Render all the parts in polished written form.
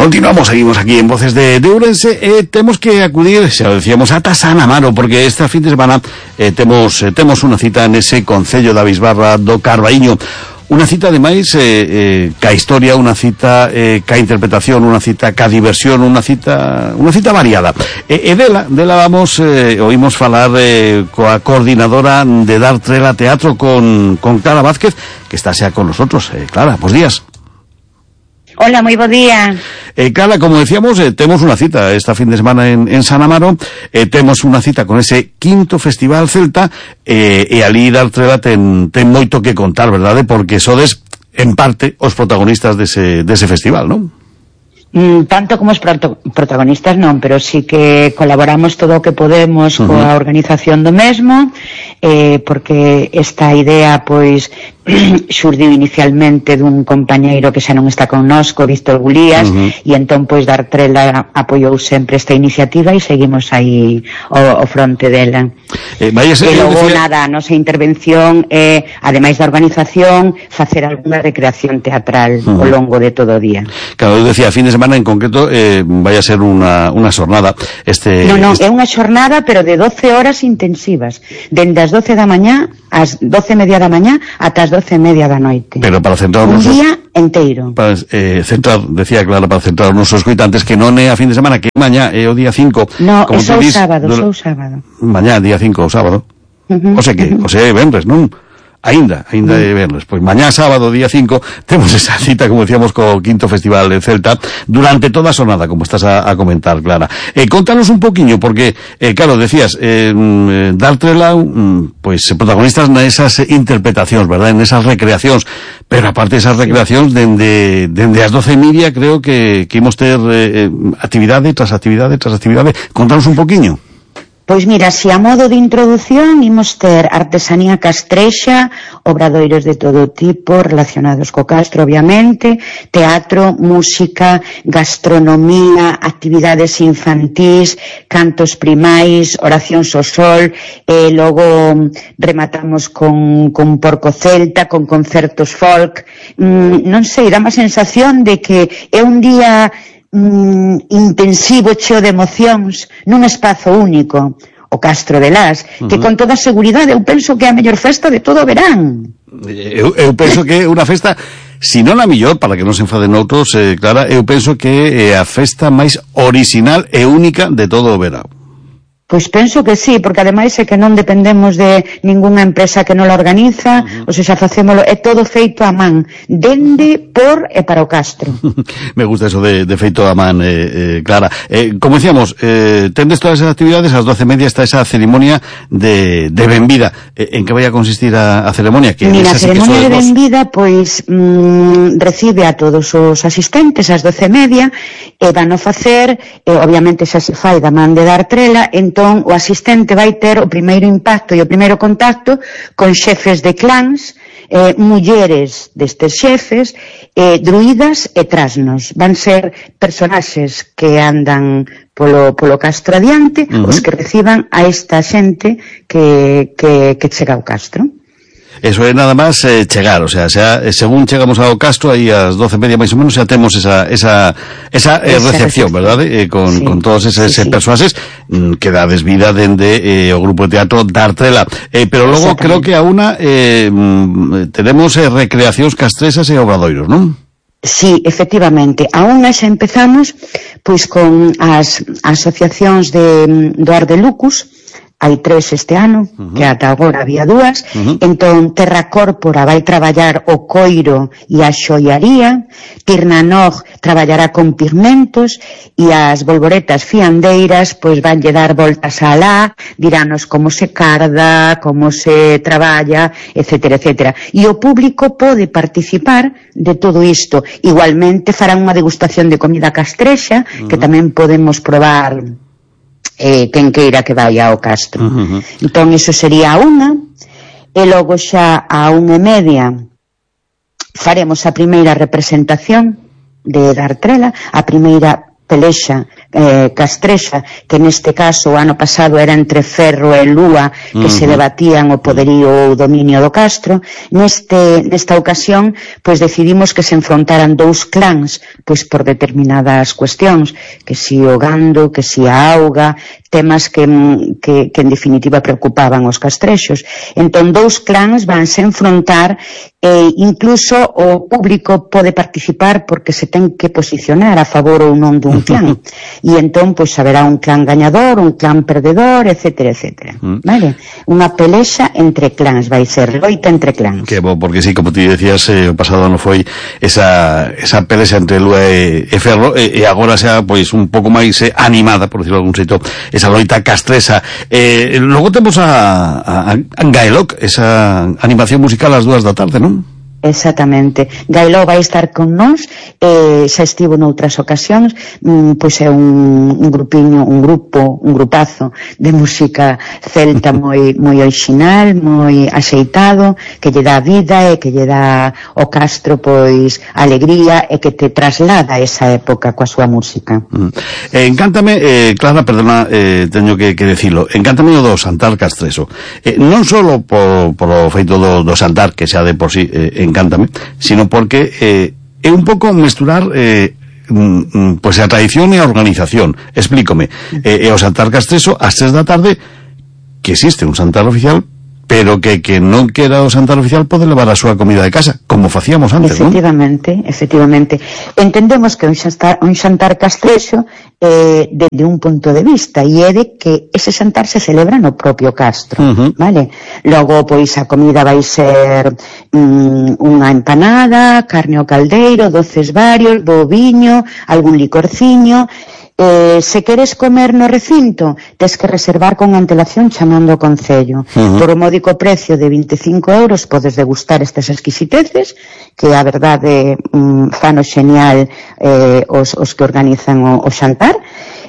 Continuamos, seguimos aquí en Voces de Ourense. Temos que acudir, xa decíamos, ata San Amaro, porque esta fin de semana temos unha cita nese concello da Bisbarra do Carbaíño. Unha cita, ademais, ca historia, unha cita ca interpretación, unha cita ca diversión, unha cita variada. E dela vamos, oímos falar coa coordinadora de Dar Trela Teatro con Clara Vázquez, que está xa con nosotros. Clara, bos días. Hola, moi bo día. Clara, como decíamos, temos unha cita esta fin de semana en San Amaro, temos unha cita con ese quinto Festival Celta, e ali Dar Trela ten moito que contar, verdade? Porque sodes, en parte, os protagonistas dese festival, non? Tanto como os protagonistas non, pero sí que colaboramos todo o que podemos coa organización do mesmo, porque esta idea, pois, xurdiu inicialmente dun compañeiro que xa non está connosco, Víctor Gulías, e entón, pois, Dar Trela apoiou sempre esta iniciativa e seguimos aí ao fronte dela. E logo, nada, a nosa intervención é, ademais da organización, facer algunha recreación teatral ao longo de todo o día. Claro, eu decía, a fin de semana en concreto vai a ser unha xornada. Non, é unha xornada, pero de 12 horas intensivas, dende as 12 da mañá ás 12:30 da mañá ata as 12:30 da noite. Pero para centrar un día enteiro. Para decía Clara, para centrar os nosos coitantes, que non é a fin de semana, que mañá é o día 5. No, é só sábado. Mañá, día 5, o sábado. O sea é venres, non? Ainda é verles. Pois mañá sábado, día 5, temos esa cita, como decíamos, co quinto Festival de Celta, durante toda a xornada, como estás a comentar, Clara. Contanos un poquinho, porque, claro, decías, Dar Trela, pois, protagonistas nesas interpretacións, verdad, nesas recreacións, pero aparte esas recreacións, dende as 12:30, creo que imos ter actividade tras actividade. Contanos un poquinho. Pois mira, si a modo de introdución imos ter artesanía castrexa, obradoiros de todo tipo relacionados co castro, obviamente, teatro, música, gastronomía, actividades infantís, cantos primais, oracións ao sol, e logo rematamos con porco celta, con concertos folk. Non sei, dá má sensación de que é un día intensivo, cheo de emocións, nun espazo único, o Castro de Las, que con toda seguridade eu penso que é a mellor festa de todo o verán. Eu penso que é unha festa, si non a mellor, para que non se enfaden outros, Clara, eu penso que é a festa máis orixinal e única de todo o verán. Pois penso que sí, porque ademais é que non dependemos de ningunha empresa que non la organiza, ou seja, facémolo, é todo feito a man, dende, por e para o Castro. Me gusta eso de feito a man, Clara. Como decíamos, tendes todas esas actividades, ás 12:30 está esa ceremonia de benvida. En que vai a consistir a ceremonia? Mira, a ceremonia de benvida, pois, recibe a todos os asistentes ás 12:30, e van a facer, obviamente xa se fai da man de Dar Trela, entón o asistente vai ter o primeiro impacto e o primeiro contacto con xefes de clans, mulleres destes xefes, druidas e trasnos. Van ser personaxes que andan polo Castro adiante, os que reciban a esta xente que chega ao Castro. Eso é nada máis chegar, o sea, según chegamos ao Castro, aí ás 12:30 máis ou menos, xa temos esa recepción, verdade? Con todos eses persoaxes que dades vida dende o grupo de teatro Dar Trela. Pero logo creo que a una tenemos recreacións castrexas e obradoiros, non? Sí, efectivamente. A unha xa empezamos pois con as asociacións do Ar de Lucus. Hai 3 este ano, que ata agora había 2, entón Terra Córpora vai traballar o coiro e a xoiaría, Tirnanog traballará con pigmentos, e as bolboretas fiandeiras pois vanlle dar voltas a alá, dirános como se carda, como se traballa, etcétera, etcétera. E o público pode participar de todo isto. Igualmente farán unha degustación de comida castrexa, que tamén podemos probar quen queira que vai ao Castro. Entón, iso sería a unha, e logo xa a 1:30 faremos a primeira representación de Dar Trela, a primeira pelexa castrexa, que neste caso o ano pasado era entre Ferro e Lúa, que se debatían o poderío ou o dominio do castro. Nesta ocasión, pois decidimos que se enfrontaran dous clans, pois por determinadas cuestións, que si o gando, que si a auga, temas que en definitiva preocupaban os castrexos. Entón, dous clans vanse enfrontar, e incluso o público pode participar porque se ten que posicionar a favor ou non dun clan. E entón, pois, haberá un clan gañador, un clan perdedor, etcétera, etcétera. Vale? Unha pelexa entre clans, vai ser loita entre clans. Que bo, porque sí, como ti decías, o pasado non foi esa pelexa entre Lúa e Ferro, e agora xa, pois, un pouco máis animada, por decirlo de algún xeito, esa loita castresa. Logo temos a Gaeloc, esa animación musical ás 2 da tarde, non? Exactamente. Gailó vai estar con nós, xa estivo noutras ocasións, pois é un grupazo de música celta moi original, moi axeitado, que lle dá vida e que lle dá ao castro pois alegría e que te traslada a esa época coa súa música. Encántame, Clara, perdona, teño que decilo, encántame o do Xantar castreso. Non só polo feito do xantar, que xa de por sí encántame, sino porque é un pouco mesturar pois a tradición e a organización. Explícome, o Xantar castreso ás 3 da tarde, que existe un xantar oficial, pero que non quera o xantar oficial pode levar a súa comida de casa, como facíamos antes, non? Efectivamente. Entendemos que un xantar castrexo desde un punto de vista, e é de que ese xantar se celebra no propio castro, vale? Logo, pois, a comida vai ser unha empanada, carne ao caldeiro, doces varios, boviño, algún licorciño. Se queres comer no recinto, tes que reservar con antelación chamando ao concello. Por o módico precio de 25 euros podes degustar estas exquisiteces, que a verdade fano xenial os que organizan o xantar.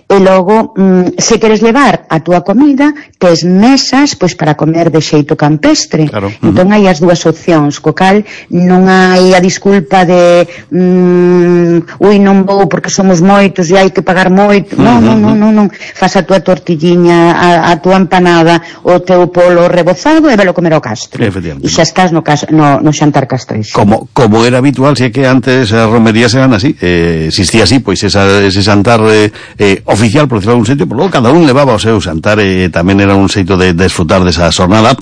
E logo, se queres levar a túa comida, tes mesas pois para comer de xeito campestre. Claro. Entón hai as dúas opcións, co cal non hai a disculpa de non vou porque somos moitos e hai que pagar moito. Non. Faz a túa tortilliña, a túa empanada, o teu polo rebozado e velo comer ao castro. E xa estás no xantar castrexo. Como era habitual, se é que antes as romerías eran así, existía así, pois ese xantar oficial, por decirlo de algún sitio, por logo cada un levaba o seu xantar, e tamén era un xeito de desfrutar desa xornada,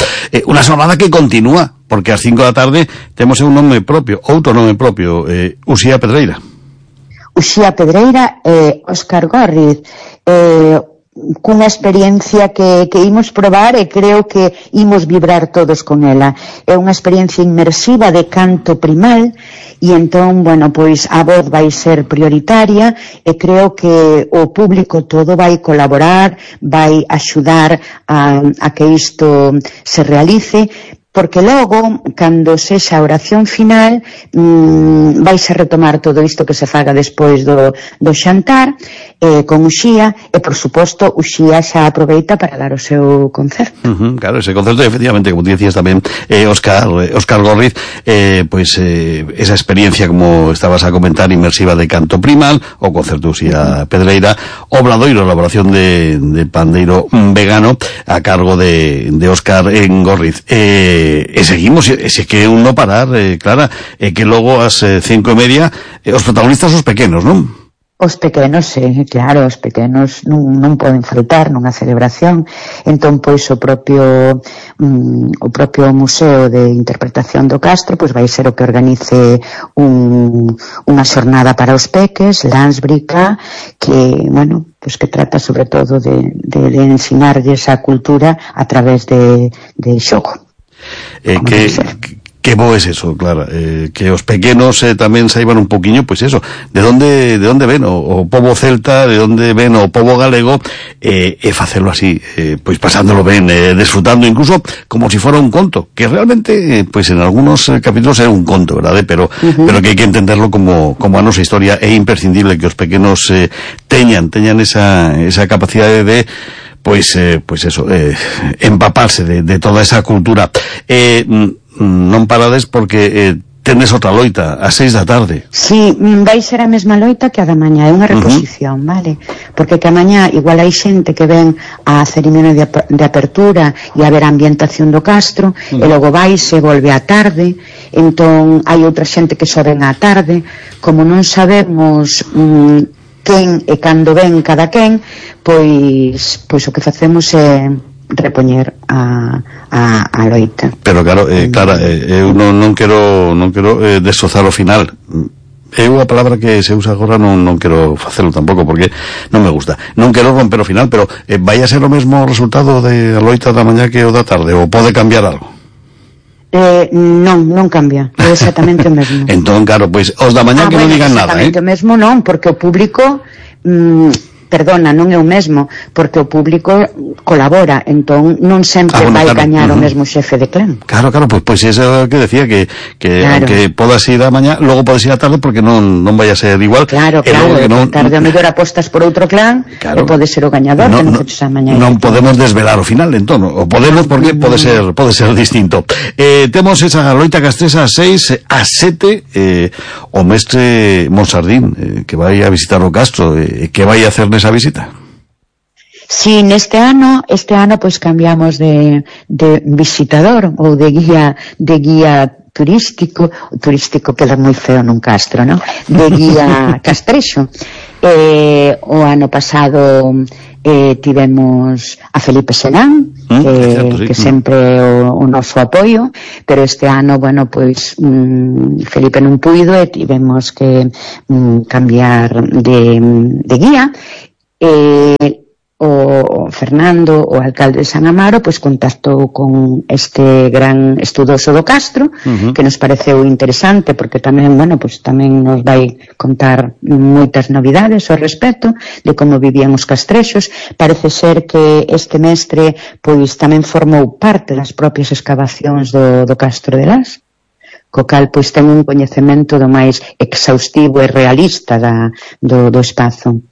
unha xornada que continúa, porque ás 5 da tarde temos un nome propio, outro nome propio, Uxía Pedreira. Uxía Pedreira e Óscar Górriz, cunha experiencia que imos probar e creo que imos vibrar todos con ela. É unha experiencia inmersiva de canto primal, e entón, bueno, pois a voz vai ser prioritaria, e creo que o público todo vai colaborar, vai axudar a que isto se realice, porque logo, cando sexa a oración final, vais a retomar todo isto que se faga despois do xantar, con Uxía, e, por suposto, Uxía xa aproveita para dar o seu concerto. Claro, ese concerto, efectivamente, como te decías tamén, Óscar Górriz, pois esa experiencia, como estabas a comentar, inmersiva de canto primal, o concerto Uxía Pedreira, Obradoiro, elaboración de pandeiro vegano, a cargo de Óscar Górriz. E seguimos, e que un no parar, Clara, que logo ás 5:30 os protagonistas os pequenos, non? Os pequenos, claro, os pequenos non poden faltar nunha celebración. Entón, pois, o propio Museo de Interpretación do Castro pois vai ser o que organice unha xornada para os peques, Lansbrica, que, bueno, pois que trata sobre todo de ensinarlles a cultura a través de xogo. Que bo es eso, Clara, que os pequenos tamén saiban un poquinho, pois eso, de onde ven o pobo celta, de onde ven o pobo galego, e facelo así, pois pasándolo ben, desfrutando incluso como si fora un conto, que realmente, pois en algunos capítulos é un conto, verdade? Pero que hai que entenderlo como a nosa historia. É imprescindible que os pequenos teñan esa capacidade de pois eso, empaparse de toda esa cultura. Non parades porque tenes outra loita a 6 da tarde. Si, vai ser a mesma loita que a da mañá, é unha reposición, vale? Porque que a mañá igual hai xente que ven a cerimonial de apertura e a ver a ambientación do castro, e logo vai se volve á tarde, entón hai outra xente que só ven á tarde, como non sabemos quen e cando ven cada quen, pois o que facemos é repoñer a loita. Pero claro, Clara, eu non quero desozar o final. Eu a palabra que se usa agora non quero facelo tampouco, porque non me gusta. Non quero romper o final, pero vai a ser o mesmo resultado de a loita da mañá que o da tarde, ou pode cambiar algo? Non cambia, é exactamente o mesmo. Entón, claro, pois os da mañá que non digan nada, exactamente o mesmo non, porque o público perdona, non é o mesmo, porque o público colabora, entón non sempre vai gañar o mesmo xefe de clan. Claro, pois eso que decía, que claro, aunque podas ir a mañá, logo podes ir a tarde, porque non vai a ser igual. Claro, tarde a mellor apostas por outro clan, claro, e pode ser o gañador, que non foches a mañá. Non podemos desvelar o final, entón, o podemos porque pode ser distinto. Temos esa loita castresa a 6, a 7, o mestre Monsardín, que vai a visitar o castro, que vai a hacer nesa visita. Si, neste ano pois cambiamos de visitador ou de guía turístico queda moi feo nun castro, non? De guía castrexo. O ano pasado tivemos a Felipe Senán, que sempre o noso apoio, pero este ano, bueno, pois Felipe non puido e tivemos que cambiar de guía. O Fernando, o alcalde de San Amaro, pois contactou con este gran estudoso do castro, que nos pareceu interesante, porque tamén, bueno, pois tamén nos vai contar moitas novidades ao respecto de como vivían os castrexos. Parece ser que este mestre pois tamén formou parte das propias excavacións do castro de Las, co cal pois ten un coñecemento do máis exhaustivo e realista do espazo.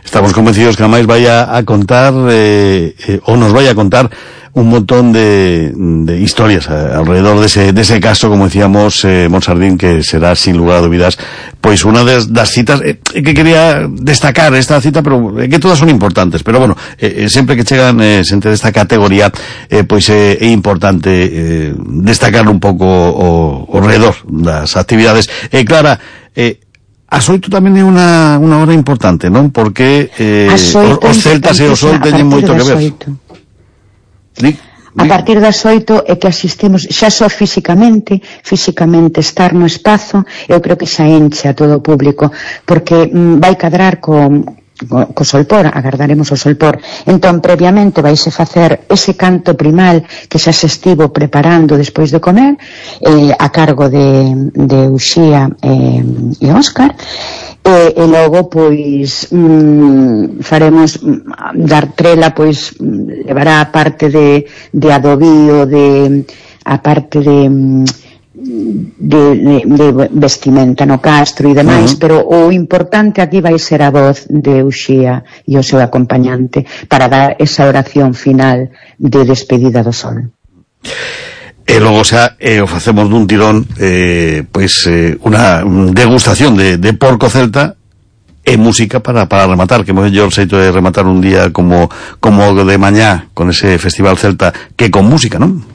Estamos convencidos que a máis vai a contar ou nos vai a contar un montón de historias alrededor dese caso, como decíamos, Monsardín, que será sin lugar a dúbidas pois unha das citas que quería destacar esta cita, pero que todas son importantes, pero bueno, sempre que chegan xente desta categoría, pois é importante destacar un pouco o redor das actividades. Clara, as 8 tamén é unha hora importante, non? Porque os celtas e o sol teñen moito que ver. A partir das 8 é que asistimos xa só físicamente estar no espazo, eu creo que xa enche a todo o público, porque vai cadrar co solpor, agardaremos o solpor. Entón, previamente vaise facer ese canto primal que xa se estivo preparando despois de comer, a cargo de Uxía e Óscar, e logo pois faremos dar trela, pois levará a parte de adobío, a parte de vestimenta no castro e demais, pero o importante aquí vai ser a voz de Uxía e o seu acompañante para dar esa oración final de despedida do sol. E logo xa o facemos dun tirón, unha degustación de porco celta e música para rematar, que mellor xeito de rematar un día como de mañá con ese festival celta que con música, non?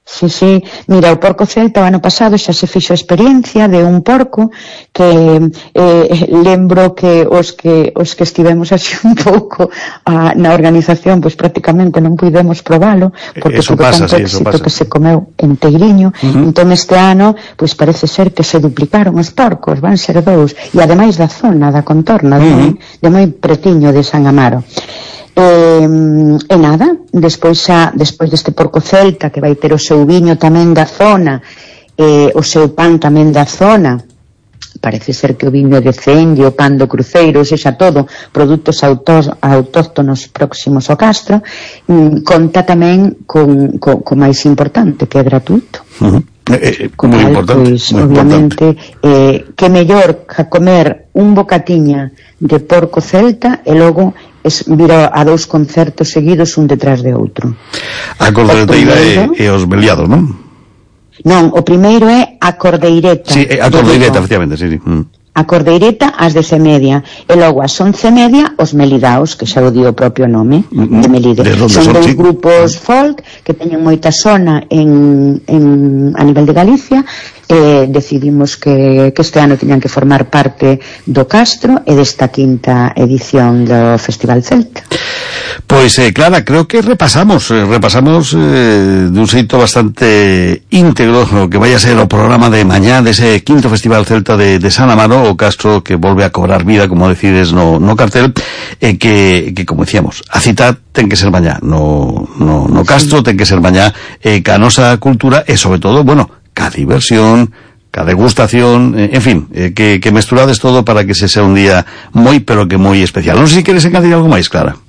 Sí, mira, o porco celta o ano pasado xa se fixo a experiencia de un porco que lembro que os que estivemos así un pouco na organización, pois prácticamente non puidemos probalo, porque tuvo tanto éxito que se comeu enteiriño. Entón este ano, pois parece ser que se duplicaron os porcos, van ser 2, e ademais da zona, da contorna, de moi pretiño de San Amaro. E nada, despois deste porco celta, que vai ter o seu viño tamén da zona, o seu pan tamén da zona, parece ser que o viño de Cenge, o pan do Cruceiro, sexa todo produtos autóctonos próximos ao castro, conta tamén con máis importante, que é gratuito. Moi importante, pois, obviamente, que mellor que comer un bocatiña de porco celta e logo vir a 2 concertos seguidos un detrás de outro. A cordeteira e os beliados, non? Non, o primeiro é a Cordeireta. Sí, a Cordeireta, efectivamente, sí. A Cordeireta ás 10:30 e logo ás 11:30 os Melidaos, que xa o di o propio nome de Melide. Son dous grupos folk que teñen moita sona a nivel de Galicia e decidimos que este ano tiñan que formar parte do Castro e desta quinta edición do Festival Celta. Pois, Clara, creo que repasamos de un xeito bastante íntegro o que vai a ser o programa de mañá dese quinto Festival Celta de San Amaro, o Castro que volve a cobrar vida, como decides no cartel, que como decíamos, a cita ten que ser mañá no Castro, ten que ser mañá ca nosa cultura e sobre todo, bueno, ca diversión, ca degustación, en fin, que mesturades todo para que se sea un día moi, pero que moi especial. Non sei se queres engadir algo máis, Clara.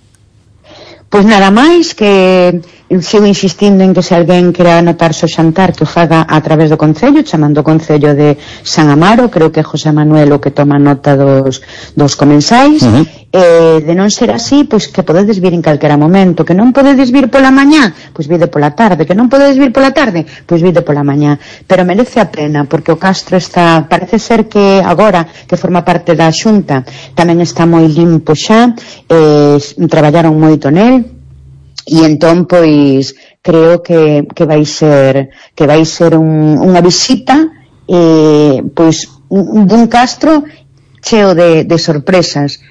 Pois nada máis, que sigo insistindo en que se alguén quera anotarse o xantar que o faga a través do Concello, chamando o Concello de San Amaro. Creo que é José Manuel o que toma nota dos comensais. De non ser así, pois que podedes vir en calquera momento. Que non podedes vir pola mañá, pois vide pola tarde. Que non podedes vir pola tarde, pois vide pola mañá. Pero merece a pena, porque o Castro está, parece ser que agora que forma parte da Xunta, tamén está moi limpo xa, traballaron moito nel. E entón, pois, creo que vai ser unha visita pois dun Castro cheo de sorpresas,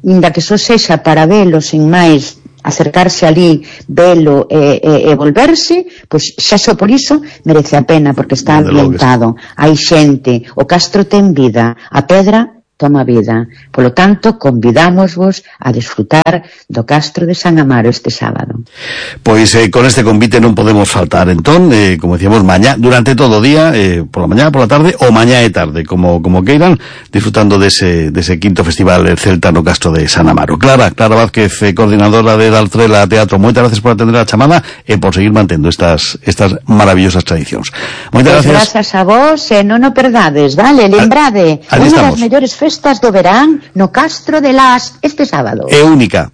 inda que só sexa para velo sin máis, acercarse ali, velo e volverse, pois xa só por iso merece a pena, porque está ambientado, hai xente, o Castro ten vida, a pedra toma vida. Polo tanto, convidámosvos a disfrutar do Castro de San Amaro este sábado. Pois con este convite non podemos faltar, entón, como decíamos, mañá, durante todo o día, pola mañá, pola tarde, ou mañá e tarde, como queiran, disfrutando dese quinto Festival Celta no Castro de San Amaro. Clara Vázquez, coordinadora de Daltrela Teatro, moitas gracias por atender a chamada e por seguir mantendo estas maravillosas tradicións. Moitas gracias. Grazas a vos, e non o perdades, vale? Lembrade, unha das mellores festas do verán no Castro de Las este sábado. É única.